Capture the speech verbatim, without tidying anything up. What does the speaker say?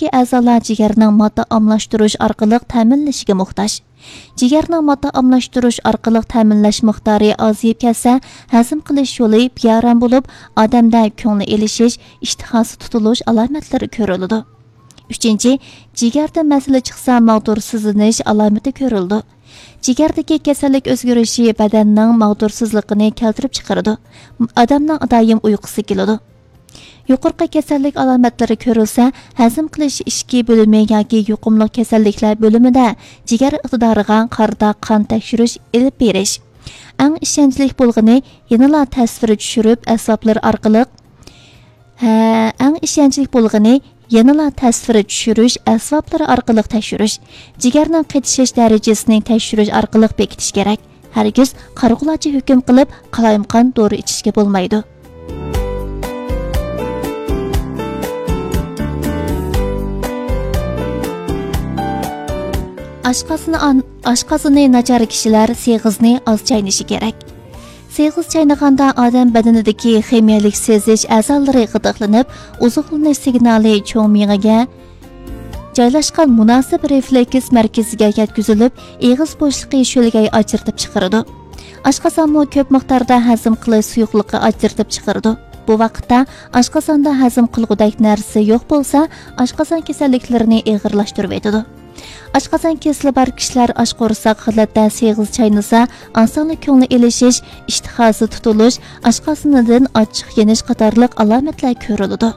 ئەزالار جىگەرنىڭ ماددا ئالماشتۇرۇش ئارقىلىق تەمىنلىشىگە موھتاج. جىگەرنىڭ ماددا ئالماشتۇرۇش ئارقىلىق تەمىنلەش مىقدارى ئازىيىپ كەتسە، ھەزىم قىلىش يولى بىئارام بولۇپ، ئادەمدە كۆڭلى ئېلىشىش، ئىشتىھاسى تۇتۇلۇش ئالامەتلىرى كۆرۈلىدۇ. ئۈچىنچى، جىگەردە مەسىلە چىقسا، ماغدۇرسىزلىنىش ئالامىتى كۆرۈلىدۇ. جىگەردىكى كېسەللىك ئۆزگىرىشى بەدەننىڭ ماغدۇرسىزلىقىنى كەلتۈرۈپ چىقىرىدۇ. ئادەمنىڭ دائىم ئۇيقۇسى كېلىدۇ. يۇقىرىقى كېسەللىك ئالامەتلىرى كۆرۈلسە، ھەزىم قىلىش ئىچكى بۆلۈمى ياكى يۇقۇملۇق كېسەللىكلەر بۆلۈمىدە جىگەر ئىقتىدارىغا قارىتا قان تەكشۈرۈش ئېلىپ بېرىش. ئەڭ ئىشەنچلىك بولغىنى، يەنىلا تەسۋىر چۈشۈرۈپ ئەسۋابلىرى ئارقىلىق، ھە، ئەڭ ئىشەنچلىك بولغىنى، يەنىلا تەسۋىر چۈشۈرۈش ئەسۋابلىرى ئارقىلىق تەكشۈرۈش. جىگەرنىڭ قېتىشىش دەرىجىسىنى تەكشۈرۈش ئارقىلىق بېكىتىش كېرەك. ھەرگىز قارىغۇلارچە ھۆكۈم قىلىپ، قالايمىقان دورا ئىچىشكە بولمايدۇ. ئاشقازىنى ئان-، ئاشقازىنى ناچار كىشىلەر سېغىزنى ئاز چاينىشى كېرەك. سېغىز چاينىغاندا ئادەم بەدىنىدىكى خىمىيەلىك سېزىش ئەزالىرى غىدىقلىنىپ، ئوزۇقلىنىش سىگنالى چوڭ مېڭىگە جايلاشقان مۇناسىپ رېفلېكس مەركىزىگە يەتكۈزۈلۈپ، ئېغىز بوشلۇقى شۆلگەي ئاجرىتىپ چىقىرىدۇ. ئاشقازانمۇ كۆپ مىقداردا ھەزىم قىلىش سۇيۇقلۇقى ئاجرىتىپ چىقىرىدۇ. بۇ ۋاقىتتا ئاشقازاندا ھەزىم قىلغۇدەك نەرسە يوق بولسا، ئاشقازان كېسەللىكلىرىنى ئېغىرلاشتۇرۇۋېتىدۇ. ئاشقازان كېسىلى بار كىشىلەر ئاچ قورساق ھالەتتە سېغىز چاينىسا، ئاسانلا كۆڭلى ئېلىشىش، ئىشتىھاسى تۇتۇلۇش، ئاشقازىنىدىن ئاچچىق يېنىش قاتارلىق ئالامەتلەر كۆرۈلىدۇ.